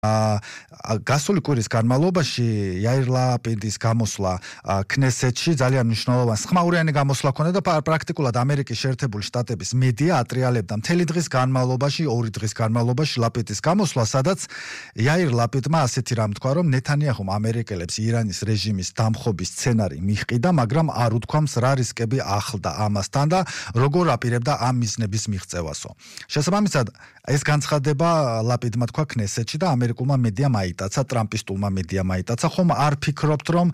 გასული კვირის განმავლობაში იაირ ლაპიდის გამოსვლა ქნესეთში ძალიან მნიშვნელოვანი ხმაურიანი გამოსვლა ქონდა და პრაქტიკულად ამერიკის შეერთებული შტატების მედია ატრიალებდა მთელი დღის განმავლობაში, 2 დღის განმავლობაში ლაპიდის გამოსვლა, სადაც იაირ ლაპიდმა ასეთი რამ თქვა, რომ ნეთანიაჰუმ ამერიკელებს ირანის რეჟიმის დამხობის სცენარი მიჰყიდა, მაგრამ არ უთქვამს რა რისკები ახლდა ამასთან და როგორ აპირებდა ამ მიზნების მიღწევასო. შესაბამისად, ეს განცხადება ლაპიდმა თქვა ქნესეთში და ამერიკულმა მედიამ აიტაცა, ტრამპისტულმა მედიამ აიტაცა, ხომ არ ფიქრობთ, რომ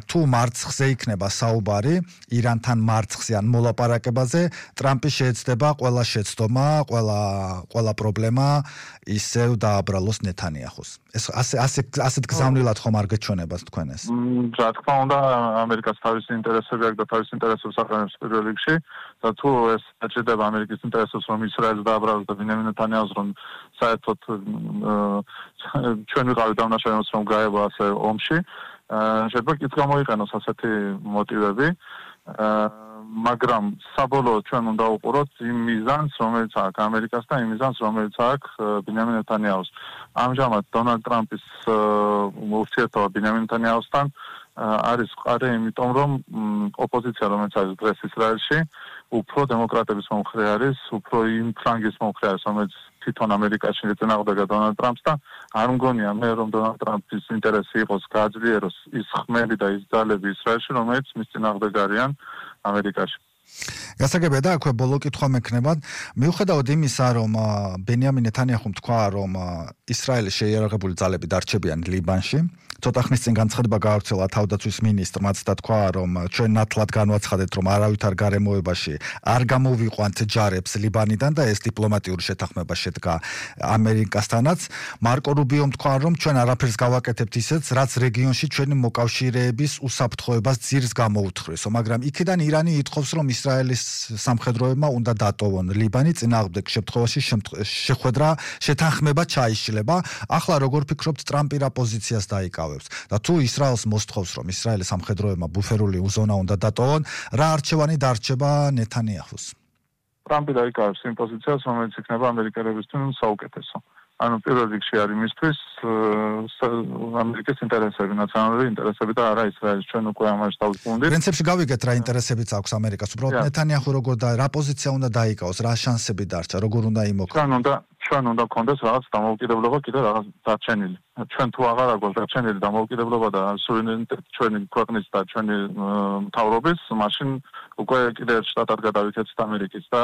თუ მარცხზე იქნება საუბარი, ირანთან მარცხზე ან მოლაპარაკებაზე, ტრამპი შეეცდება ყველა შეცდომა, ყველა პრობლემა ისევ დააბრალოს ნეთანიაჰუს. ეს ასეთ გზავნილად ხომ არ გეჩვენებას თქვენ ეს? რა თქმა უნდა, ამერიკას თავისი ინტერესები აქვს და თავის ინტერესებს აყენებს პირველ რიგში და თუ ეს აჭირდება ამერიკის ინტერესებს, რომ ისრაელს დააბრალოს და ბინიამინ ნეთანიაჰუს რომ საერთოდ ჩვენ ვიყავით დამნაშავე, რომ გაება ასე ომში, შეიძლება კიდევ გამოიყენოს ასეთი მოტივები, მაგრამ საბოლოოდ ჩვენ უნდა ვუყუროთ იმ მიზანს, რომელიც აქვს ამერიკას და იმ მიზანს, რომელიც აქვს ბინიამინ ნეთანიაჰუს. ამჟამად დონალდ ტრამპის ურთიერთობა ბინიამინ ნეთანიაჰუსთან არის მყარი, იმიტომ რომ ოპოზიცია, რომელიც არის დღეს ისრაელში, უფრო დემოკრატების მომხრე არის, უფრო იმ ფლანგის მომხრე არის, რომელიც თვითონ ამერიკაში ეწინააღმდეგა დონალდ ტრამპს და არ მგონია მე, რომ დონალდ ტრამპის ინტერესი იყოს გააძლიეროს ის ხმები და ის ძალები ისრაელში, რომელიც მის წინააღმდეგ არიან ამერიკაში. გასაგებია და აქვე ბოლო კითხვა მექნება, მიუხედავად იმისა, რომ ბენიამინ ნეთანიაჰუმ თქვა, რომ ისრაელის შეიარაღებული ძალები დარჩებიან ლიბანში, ცოტა ხნის წინ განცხადება გაავრცელა თავდაცვის მინისტრმაც და თქვა, რომ ჩვენ ნათლად განვაცხადეთ, რომ არავითარ გარემოებაში არ გამოვიყვანთ ჯარებს ლიბანიდან და ეს დიპლომატიური შეთანხმება შედგა ამერიკასთანაც. მარკო რუბიომ თქვა, რომ ჩვენ არაფერს გავაკეთებთ ისეც, რაც რეგიონში ჩვენი მოკავშირეების უსაფრთხოებას ძირს გამოუთხრესო, მაგრამ იქიდან ირანი ითხოვს, რომ ისრაელის სამხედროებმა უნდა დატოვონ ლიბანი, წინააღმდეგ შემთხვევაში შეხვედრა შეთანხმება ჩაიშლება. ახლა როგორ ფიქრობთ, ტრამპი რა პოზიციას დაიკავებს? და თუ ისრაელს მოსთხოვს, რომ ისრაელის სამხედროებმა ბუფერული ზონა უნდა დატოვონ, რა არჩევანი დარჩება ნეთანიაჰუს? ტრამპი დაიკავებს იმ პოზიციას, რომელიც იქნება ამერიკელებისთვის საუკეთესო. ანუ პირველ რიგში არის მისთვის ამერიკის ინტერესები, ნაციონალური ინტერესები და არა ისრაელის. ჩვენ უკვე ამაში დავუკვირდით. პრინციპში გავიგეთ რა ინტერესებიც აქვს ამერიკას. უბრალოდ ნეთანიაჰუ როგორ და რა პოზიცია უნდა დაიკავოს, რა შანსები დარჩა, როგორ უნდა იმოქმედოს. ჩვენ უნდა გქონდეს რაღაც დამოუკიდებლობა კიდე რაღაც დარჩენილი. ჩვენ თუ აღარ აქვს დარჩენილი დამოუკიდებლობა და სუვერენიტეტი ჩვენი ქვეყნის და ჩვენი მთავრობის, მაშინ უკვე კიდე შტატად გადავიქცეთ ამერიკის და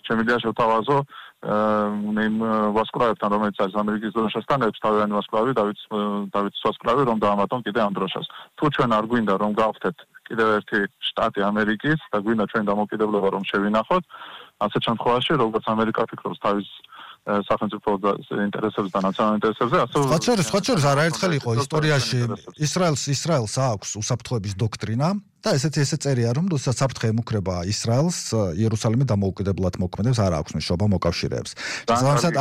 შემიძლია შევთავაზო იმ ვასკვლავებთან, რომელიც არის ამერიკის დროშასთან, ერთ თავიანთი ვასკვლავი, დავითის ვასკვლავი, რომ დაამატონ კიდე ამ დროშას. თუ ჩვენ არ გვინდა რომ გავხდეთ კიდევ ერთი შტატი ამერიკის და გვინდა ჩვენი დამოუკიდებლობა რომ შევინახოთ, ასეთ შემთხვევაში როგორც ამერიკა ფიქრობს თავის სახელმწიფო ინტერესებს და ნაციონალურ ინტერესებზე, ასე სხვა შორის არაერთხელ იყო ისტორიაში ისრაელს აქვს უსაფრთხოების დოქტრინა და ესეთი წერია, რომ როდესაც საფრთხე ემუქრება ისრაელს, იერუსალიმი დამოუკიდებლად მოქმედებს, არ აქვს მნიშვნელობა მოკავშირეებს. შესაბამისად,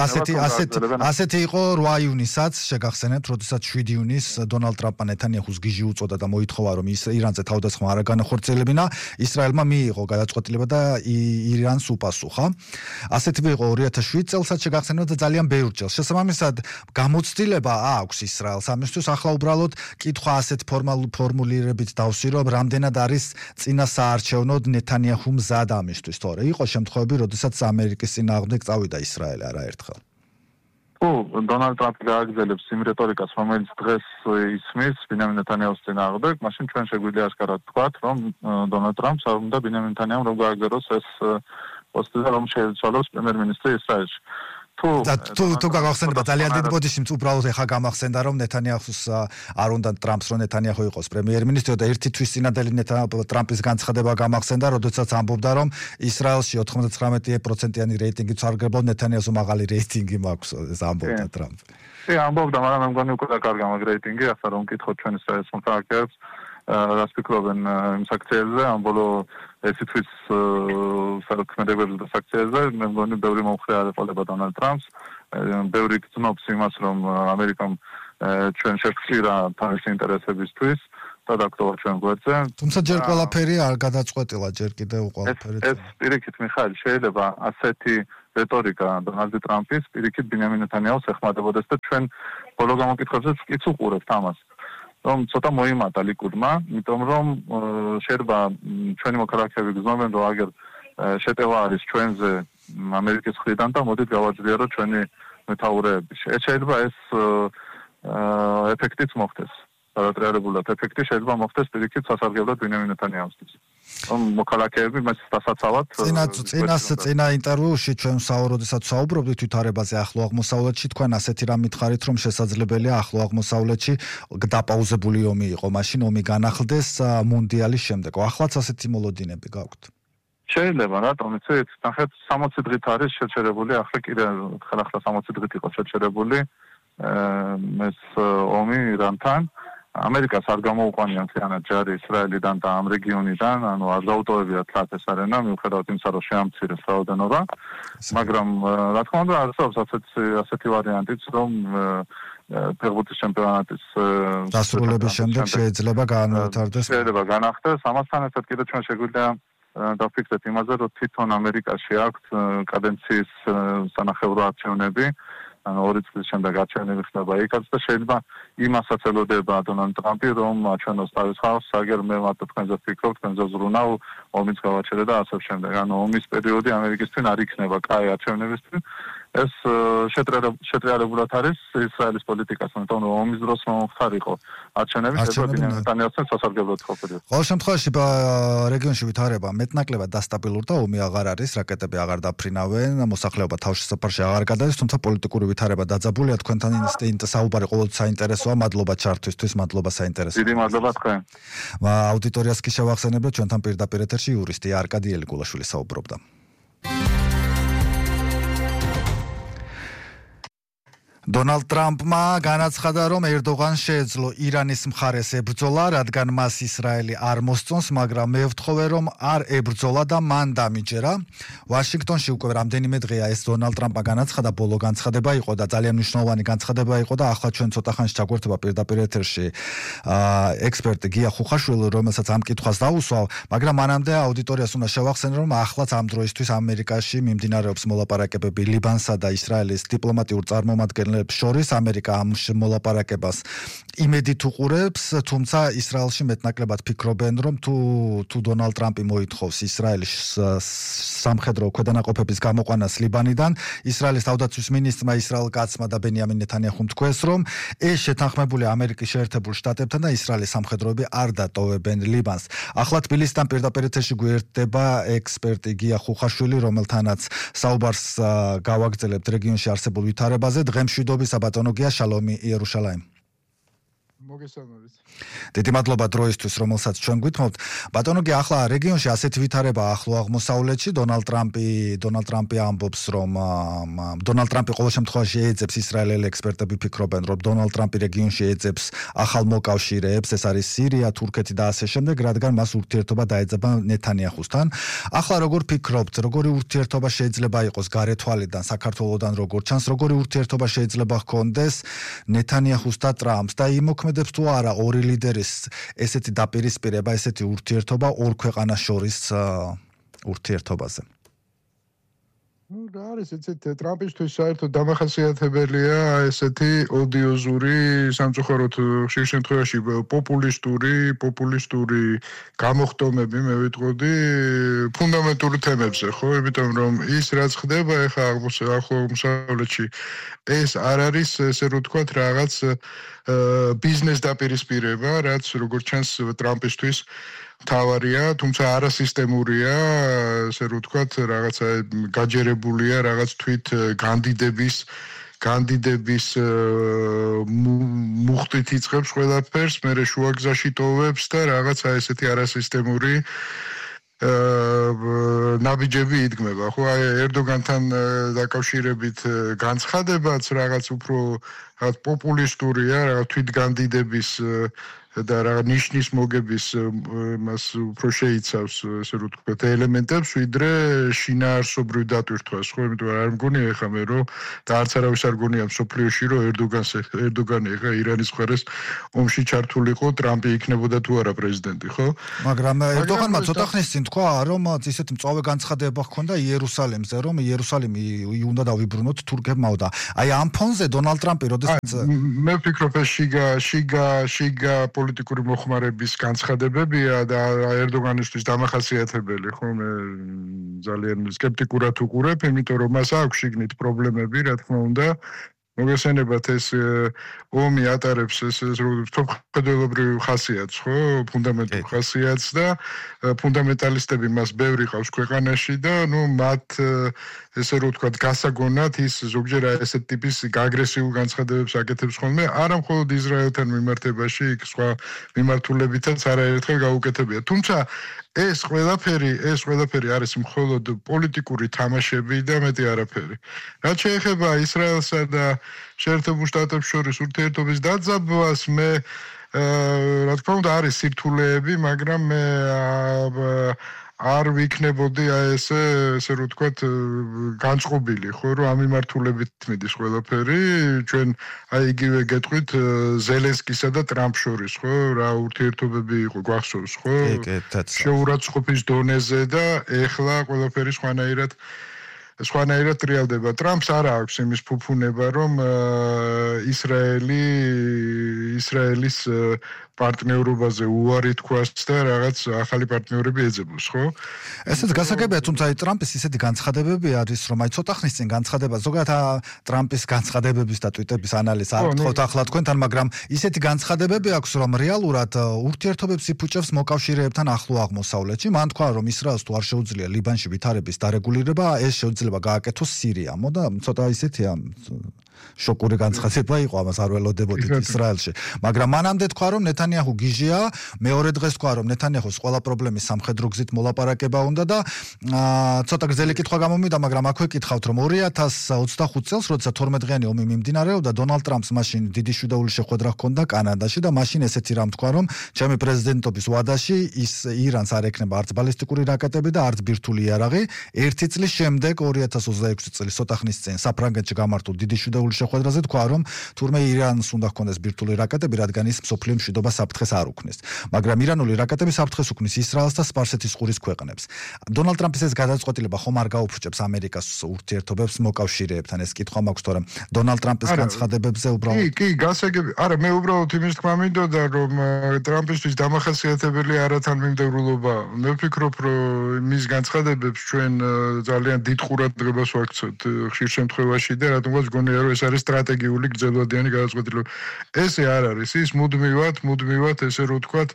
ასეთი იყო 8 ივნისაც, შეგახსენებთ, როდესაც 7 ივნის დონალდ ტრამპმა ნეთანიაჰუს გიჟი უწოდა და მოითხოვა, რომ ირანზე თავდასხმა არ განახორციელებინა, ისრაელმა მიიღო გადაწყვეტილება და ირანს უპასუხა. ასეთი იყო 2007 წელსაც შეგახსენებთ და ძალიან ბევრ წელს. შესაბამისად, გამოცდილება აქვს ისრაელს ამისთვის, ახლა უბრალოდ კითხვა ასეთ ფორმულირებით დავსვი, რომ რამდენად არის წინა საარჩევნოდ ნეთანიაჰუ მზად ამისთვის, თორე იყო შემთხვევები, როდესაც ამერიკის წინააღმდეგ წავიდა ისრაელი არაერთხელ. დონალდ ტრამპი გააგრძელებს იმ რეტორიკას, რომელიც დღეს ისმის ბინიამინ ნეთანიაჰუს წინააღმდეგ, მაშინ ჩვენ შეგვიძლია ასკარად ვთქვათ, რომ დონალდ ტრამპს არ უნდა ბინიამინ ნეთანიაჰუმ რომ გააგრძელოს ეს პოსტი და რომ შეეცვალოს პრემიერ-მინისტრი ისრაელში. თუ გაგახსენებათ ძალიან დიდ ბოდიშიც უბრალოდ ეხა გამახსენდა რომ ნეთანიაჰუს არ უნდა ტრამპს რომ ნეთანიაჰუ იყოს პრემიერ-მინისტრი და ერთი თვის წინადელი ტრამპის განცხადება გამახსენდა, როდესაც ამბობდა რომ ისრაელში 99%-იანი რეიტინგი სარგებლობს, ნეთანიაჰუს მაღალი რეიტინგი მაქვს, ეს ამბობდა ტრამპი. ამბობდა, მაგრამ მე მგონი უკვე დაკარგა მაგ რეიტინგი, ახლა რომ გითხოთ ჩვენ ისრაელის მომხრეებს, რას ფიქრობენ იმ საქციელზე, ამ ბოლო ესთვის საქმედებებზე და საქციელზე, მე მგონი ბევრი მომხრე არ ეყოლება დონალდ ტრამპს, ბევრი გრძნობს იმას, რომ ამერიკამ ჩვენ შეგვხსირა თავისი ინტერესებისთვის და დაგტოვა ჩვენ გვერდზე. თუმცა ჯერ ყველაფერი არ გადაწყვეტილა, ჯერ კიდევ ყველაფერი. ეს პირიქით, მიხაილ, შეიძლება ასეთი რეტორიკა დონალდ ტრამპის პირიქით ბინიამინ ნეთანიაჰუს ეხმარებოდეს და ჩვენ ბოლო გამოკითხვებზე ვკიც უყურებთ ამას. რომ ცოტა მოიმატა ლიკუდმა, იმიტომ რომ შეიძლება ჩვენი მოქალაქეები გრძნობენ, რომ აგერ შეტევა არის ჩვენზე ამერიკის მხრიდან და მოდით გავაძლიეროთ ჩვენი მეთაურეები. შეიძლება ეს ეფექტიც მოხდეს. Sarătrearebulă efectiv și elva moftes pirikit სასარგებლოდ ბინიამინ ნეთანიაჰუსთვის. რომ მოქალაქეები მას დასაცავად წინა ინტერვიუში ჩვენ როდესაც საუბრობდით თვითარებაზე ახლო აღმოსავლეთში თქვენ ასეთი რამ მითხარით რომ შესაძლებელია ახლო აღმოსავლეთში დაპაუზებული ომი იყო მაშინ ომი განახლდეს მუნდიალის შემდეგ. ახლაც ასეთი მოლოდინები გაქვთ? შეიძლება რატომ იცით? ნახეთ 60 დღით არის შეჩერებული, ახლა კიდე ახლა 60 დღით იყო შეჩერებული ეს ომი ირანთან. ამერიკას არ გამოუყვანია მთლიანად ჯარი ისრაელიდან და ამ რეგიონიდან, ანუ არ დაუტოვებიათ ხათ ეს არენა, მიუხედავად იმისა, რომ შეამცირეს რაოდენობა, მაგრამ რა თქმა უნდა არსებობს ასეთი ვარიანტიც, რომ ფეხბურთის ჩემპიონატის დასრულების შემდეგ შეიძლება განვითარდეს. შეიძლება განახდეს, ამასთან ერთად კიდევ ჩვენ შეგვიძლია დავფიქრდეთ იმაზე, რომ თვითონ ამერიკაში აქვს კადენციის სანახევრო არჩევნები. ანუ 2 წლის შემდეგ არჩევნები ხდება იქაც და შეიძლება იმასაც ელოდება დონალდ ტრამპი რომ აჩვენოს თავის ხალხს, აგერ მე მარტო თქვენზე ვფიქრობ, თქვენზე ზრუნავ, ომის გავაჩერე და ასე შემდეგ. ანუ ომის პერიოდი ამერიკისთვის არ იქნება კაი არჩევნებისთვის. ეს შეტრიალებულად არის ისრაელის პოლიტიკას, იმიტომ რომ ომის დროს მომხდარიყო არჩევნები შეიძლება ბინიამინ ნეთანიაჰუსთან სასარგებლოდ ყოფილიყო. ყოველ შემთხვევაში რეგიონში ვითარება მეტნაკლებად დასტაბილურდა და ომი აღარ არის, რაკეტები აღარ დაფრინავენ, მოსახლეობა თავშესაფარში აღარ გადადის, თუმცა პოლიტიკური ვითარება დაძაბულია. თქვენთან საუბარი ყოველთვის საინტერესოა. მადლობა ჩართვისთვის, მადლობა საინტერესო. დიდი მადლობა თქვენ. აუდიტორიას კი შევახსენებთ, ჩვენთან პირდაპირ ეთერში იურისტი არკადი ელიგულაშვილი საუბრობდა. დონალდ ტრამპმა განაცხადა, რომ ერდოღანს შეეძლო ირანის მხარეს ებრძოლა, რადგან მას ისრაელი არ მოსწონს, მაგრამ მე ვთხოვე, რომ არ ებრძოლა და მან დამიჯერა. ვაშინგტონში უკვე რამდენიმე დღეა ეს დონალდ ტრამპმა განაცხადა, ბოლო განცხადება იყო და ძალიან მნიშვნელოვანი განცხადება იყო და ახლა ჩვენ ცოტა ხანში ჩაგვერთება პირდაპირ ეთერში ექსპერტი გია ხუხაშვილი, რომელსაც ამ კითხვას დაუსვავ, მაგრამ მანამდე აუდიტორიას უნდა შევახსენო, რომ ახლაც ამ დროისთვის ამერიკაში მიმდინარეობს მოლაპარაკებები ლიბანსა და ისრაელის დიპლომატიურ წარმომადგენლებს შორის. ამერიკა ამ მოლაპარაკებას იმედით უყურებს, თუმცა ისრაელში მეტნაკლებად ფიქრობენ, რომ თუ დონალდ ტრამპი მოითხოვს ისრაელის სამხედრო ქვედანაყოფების გამოყვანას ლიბანიდან, ისრაელის თავდაცვის მინისტრმა ისრაელ კაცმა და ბენიამინ ნეთანიაჰუმ თქვეს, რომ ეს შეთანხმებული ამერიკის შეერთებულ შტატებთან და ისრაელის სამხედროები არ დატოვებენ ლიბანს. ახლა თბილისიდან პირდაპირ ეთერში გვერდება ექსპერტი გია ხუხაშვილი, რომელთანაც საუბარს გავაგრძელებთ რეგიონში არსებულ ვითარებაზე. დღემშვიდობისა ბატონო გია, შალომი იერუშალაიმ. მოგესალმებით. დიდი მადლობა დროისთვის, რომელსაც ჩვენ გვითხოვთ. ბატონო გია, ახლა რეგიონში ასეთი ვითარება ახლო აღმოსავლეთში, დონალდ ტრამპი ამბობს, რომ დონალდ ტრამპი ყოველ შემთხვევაში ეძებს, ისრაელელი ექსპერტები ფიქრობენ, რომ დონალდ ტრამპი რეგიონში ეძებს ახალ მოკავშირეებს, ეს არის სირია, თურქეთი და ასე შემდეგ, რადგან მას ურთიერთობა დაეძება ნეთანიაჰუსთან. ახლა როგორ ფიქრობთ, როგორი ურთიერთობა შეიძლება იყოს გარეთვალიდან, საქართველოსთან როგორ ჩანს, როგორი ურთიერთობა შეიძლება ჰქონდეს ნეთანიაჰუს და ტრამპს და იმოქმედებს თუ არა ორი ლიდერის ესეთი დაპირისპირება, ესეთი ურთიერთობა ორ ქვეყანას შორის ურთიერთობაზე? რა არის ეცეთ ტრამპისთვის საერთოდ დამახასიათებელია ესეთი ოდიოზური, სამწუხაროდ ხშირ შემთხვევაში პოპულისტური გამოხტომები, მე ვიტყოდი, ფუნდამენტური თემებზე, ხო? იმიტომ რომ ის რაც ხდება ეხლა ახლო აღმოსავლეთში, ეს არ არის, ესე რომ ვთქვათ, რაღაც ბიზნეს დაპირისპირება, რაც როგორც ჩანს ტრამპისთვის თავარია, თუმცა არასისტემურია, ესე რომ ვთქვათ, რაღაცა გაჯერებულია, რაღაც თვით კანდიდების მუხტით იწყებს ყველაფერს, მერე შუაგზაში ტოვებს და რაღაცა ესეთი არასისტემური ნაბიჯები იდგმება. ხო, აი ერდოგანთან დაკავშირებით განცხადებაც რაღაც უფრო პოპულისტურია, რაღაც თვითგანდიდების და რა ნიშნის მოგების მას უფრო შეიცავს ესე რომ ვთქვათ ელემენტებს ვიდრე შინაარსობრივ დატვირთვას ხო იმიტომ რომ არ მგონია ეხა მე რომ და არც არავის არ გონია მსოფლიოში რომ ერდოგანი ეხა ირანის მხარეს ომში ჩართულიყო ტრამპი იქნებოდა თუ არა პრეზიდენტი ხო მაგრამ ერდოგანმა ცოტა ხნის წინ თქვა რომ ისეთი მწვავე განცხადება ჰქონდა იერუსალიმზე რომ იერუსალიმი უნდა დავიბრუნოთ თურქებმაო და აი ამ ფონზე დონალდ ტრამპი როდესაც მე ვფიქრობ ეს შიგა პოლიტიკური მოხმარების განცხადებებია და ერდოგანისთვის დამახასიათებელი ხო მე ძალიან სკეპტიკურად უყურებ იმიტომ რომ მას აქვს შიგნით პრობლემები რა თქმა უნდა მოგესალმებათ ეს ომი ატარებს ეს ფუნდამენტალურ ხასიათს ხო ფუნდამენტალურ ხასიათს და ფუნდამენტალისტები მას ბევრი ყავს ქვეყანაში და ნუ მათ ესე რომ ვთქვათ გასაგონად ის ზოგჯერ ესეთ ტიპის აგრესიულ განცხადებებს აკეთებს ხოლმე არა მხოლოდ ისრაელთან მიმართებაში იქ სხვა მიმართულებითაც არაერთხელ გაუკეთებია თუმცა ეს ყველაფერი არის მხოლოდ პოლიტიკური თამაშები და მეტი არაფერი. რაც შეეხება ისრაელსა და შეერთებულ შტატებს შორის ურთიერთობის დაძაბვას, მე რა თქმა უნდა არის სირთულეები, მაგრამ მე არ ვიქნებოდი ესე რომ ვთქვათ განწყობილი ხო რომ ამ მიმართულებით მიდის ყველაფერი ჩვენ აი იგივე გეტყვით ზელენსკისა და ტრამპ შორის ხო რა ურთიერთობები იყო გვახსოვს ხო შეურაცხყოფის დონეზე და ეხლა ყველაფერი სხვანაირად ტრიალდება ტრამპს არ აქვს იმის ფუფუნება რომ ისრაელის პარტნიორობაზე უარი თქვას და რაღაც ახალი პარტნიორები ეძებოს, ხო? ესეც გასაგებია, თუმცა აი ტრამპის ისეთი განცხადებები არის, რომ აი ცოტა ხნის წინ განცხადება, ზოგადად ტრამპის განცხადებების და ტვიტების ანალიზს არ ვთქვათ ახლა თქვენთან, მაგრამ ისეთი განცხადებები აქვს, რომ რეალურად ურთიერთობებს იფუჭებს მოკავშირეებთან ახლო აღმოსავლეთში. მან თქვა, რომ ისრაელს თუ არ შეუძლია ლიბანში ვითარების დარეგულირება, ეს შეიძლება გააკეთოს სირიამ და ცოტა ისეთია შოკური განცხადება იყო ამას არ ველოდებოდით ისრაელში. მაგრამ მანამდე თქვა, რომ ნეთანიაჰუ გიჟია, მეორე დღეს თქვა, რომ ნეთანიაჰუს ყველა პრობლემის სამხედრო გზით მოლაპარაკება უნდა და ცოტა გრძელი კითხვა გამომივიდა, მაგრამ აქვე კითხავთ, რომ 2025 წელს, როცა 12-დღიანი ომი მიმდინარეობდა, დონალდ ტრამპს მაშინ დიდი შვიდაული შეხვედრა ჰქონდა კანადაში და მაშინ ესეთი რამ თქვა, რომ ჩემი პრეზიდენტობის ვადაში ის ირანს არ ექნება არც ბალისტიკური რაკეტები და არც ბირთვული იარაღი. ერთი წლის შემდეგ 2026 წლის ცოტა ხნის წინ საფრანგეთში გამართულ დიდი შვიდაული შეხვედრაზე თქვა, რომ თურმე ირანს უნდა ჰქონდეს ბირთვული რაკეტები, რადგან ის მსოფლიო მშვიდობას საფრთხეს არ უქმნის. მაგრამ ირანული რაკეტები საფრთხეს უქმნის ისრაელს და სპარსეთის ყურის ქვეყნებს. დონალდ ტრამპის ეს გადაწყვეტილება ხომ არ გაუფრჩებს ამერიკას ურთიერთობებს მოკავშირეებთან? ეს კითხვა მაქვს, თორემ დონალდ ტრამპის განცხადებებზე უბრალოდ კი, გასაგები. არა, მე უბრალოდ იმის თქმა მინდოდა, რომ ტრამპისთვის დამახასიათებელი არათანმიმდევრულობა. მე ვფიქრობ, რომ მის განცხადებებს ჩვენ ძალიან დიდ ყურადღებას ვაქცევთ ხშირ შემთხვევაში და რატომღაც გონია, რომ ეს არის სტრატეგიული გრძელვადიანი გადაწყვეტილება. ესე არ არის, ის მუდმივად ესე რომ ვთქვათ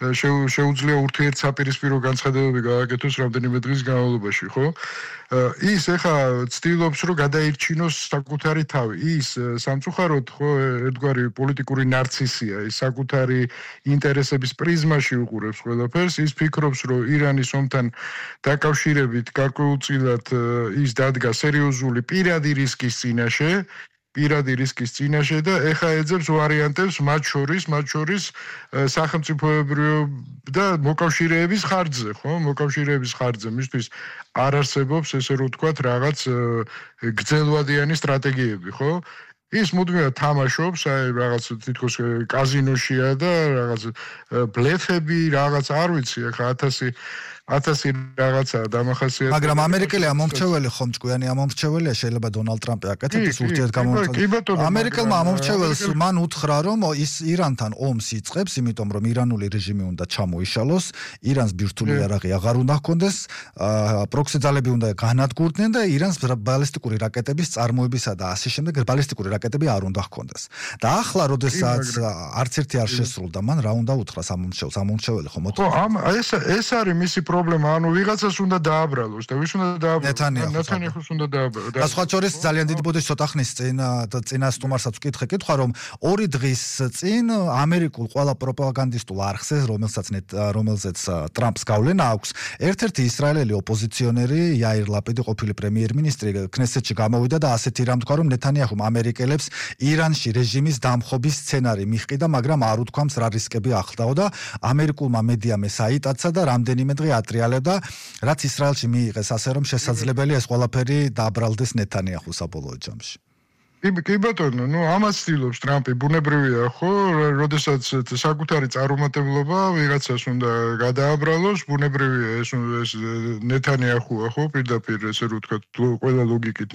შეუძლია ურთიერთსაპირისპირო განცხადებები გააკეთოს რამდენიმე დღის განმავლობაში, ხო? ის ეხა ცდილობს რომ გადაირჩინოს საკუთარი თავი. ის სამწუხაროდ ხო ერთგვარი პოლიტიკური ნარცისია, ის საკუთარი ინტერესების პრიზმაში უყურებს ყველაფერს, ის ფიქრობს რომ ირანის ომთან დაკავშირებით გარკვეულწილად ის დადგა სერიოზული პირადი რისკის წინაშე და ეხა ეძებს ვარიანტებს მათ შორის სახელმწიფოებრივ და მოკავშირეების ხარჯზე, ხო? მოკავშირეების ხარჯზე მისთვის არ არსებობს ესე რომ ვთქვათ რაღაც გრძელვადიანი სტრატეგიები, ხო? ის მუდმივად თამაშობს, აი რაღაც თითქოს კაზინოშია და რაღაც ბლეფები, რაღაც არ ვიცი, ახლა 1000 რაღაცა დამახასიათებელი. მაგრამ ამერიკელი ამომრჩეველი ხომ ჭკვიანი ამომრჩეველია, შეიძლება დონალდ ტრამპი აკეთებს ურთიერთგამომრჩეველს. ამერიკელმა ამომრჩეველს მან უთხრა, რომ ის ირანთან ომს იწყებს, იმიტომ რომ ირანული რეჟიმი უნდა ჩამოიშალოს, ირანს ბირთვული იარაღი აღარ უნდა ჰქონდეს, პროქსი ძალები უნდა განადგურდნენ და ირანს ბალისტიკური რაკეტების წარმოებისა და ასე შემდეგ ბალისტიკური რაკეტები არ უნდა ჰქონდეს. და ახლა, როდესაც არც ერთი არ შესრულდა, მან რა უნდა უთხრას ამომრჩეველს, ამომრჩეველი ხომ უთხრა. ხო, ეს არის მისი პრობლემა, ანუ ვიღაცას უნდა დააბრალოს და ვის უნდა დააბრალოს? ნეთანიაჰუს უნდა დააბრალოს. და სხვა შორის ძალიან დიდი ბოდიში ცოტა ხნის წინა სტუმარსაც ვკითხე კითხვა, რომ 2 დღის წინ ამერიკულ ყველა პროპაგანდისტულ არხზე, რომელზეც ტრამპს გავლენა აქვს, ერთ-ერთი ისრაელელი ოპოზიციონერი იაირ ლაპიდი, ყოფილი პრემიერ-მინისტრი, ქნესეთში გამოვიდა და ასეთი რამ თქვა, რომ ნეთანიაჰუმ ამერიკელებს ირანში რეჟიმის დამხობის სცენარი მიჰყიდა, მაგრამ არ უთქვამს რა რისკები ახლდაო და ამერიკულმა მედიამ ეს აიტაცა და რამდენიმე დღე ატრიალებდა, რაც ისრაელში მიიღეს, ასე რომ შესაძლებელია ეს ყველაფერი დააბრალდეს ნეთანიაჰუს საბოლოო ჯამში. კი ბატონო, ამას ცდილობს ტრამპი, ბუნებრივია, ხო? როდესაც საკუთარი წარუმატებლობა ვიღაცას უნდა გადააბრალოს, ბუნებრივია ეს ნეთანიაჰუა, ხო? პირდაპირ ესე რომ ვთქვათ, ყველა ლოგიკით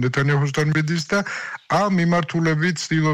ნეთანიაჰუსთან მიდის და ამ მიმართულებით ცდილობს